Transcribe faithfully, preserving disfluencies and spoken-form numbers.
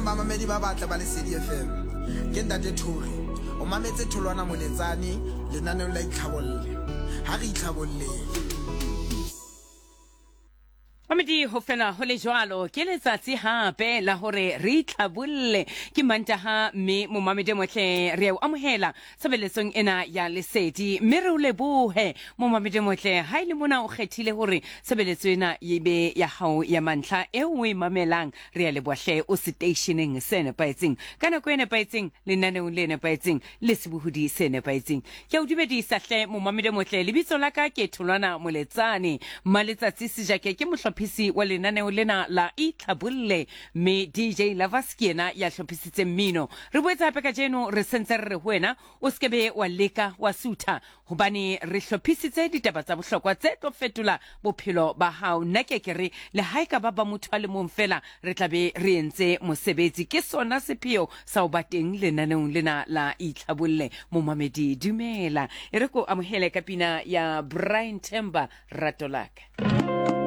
Bamamedi ba batle ba Lesedi F M. Ke Ntate Thori. O mametse Tholwana Moletsane lenaneong la Itlhabolle. Ha re itlhabolleng. Mamedi ho fela ho le jwalo ke letsatsi hape la hore re itlhabolle ke Mantaha, mme momamedi motle re o amohela tshebeletsong ena ya Lesedi, mme re o lebohe momamedi motle ha ile mona o kgethile hore tshebeletso ena e be ya hao ya mantlha e o e mamelang. Re a leboha hle, o seteisheneng se nepahetseng ka nako e nepahetseng, lenaneong le nepahetseng le sebohodi se nepahetseng. Ke a o dumedisa hle momamedi motle, lebitso la ka ke Tholwana Moletsane. Maletsatsi Sejake ke mohlophisi wa lenaneo lena la Itlhabolle, mme D J Lovers ke yena ya hlophisitseng mmino. Re boetse hape kajeno re sentse re re ho wena o se ke be wa leka wa sutha, hobane re hlophisitse ditaba tsa bohlokwa tse tlo fetola bophelo ba hao. Nna ke ke re le ha e ka ba ba motho a le mong fela, re tla be re entse mosebetsi. Ke sona sepheo sa ho ba teng lenaneong lena la Itlhabolle. Momamedi, dumela. E re ko amohele ka pina ya Brian Themba, Rato la ka.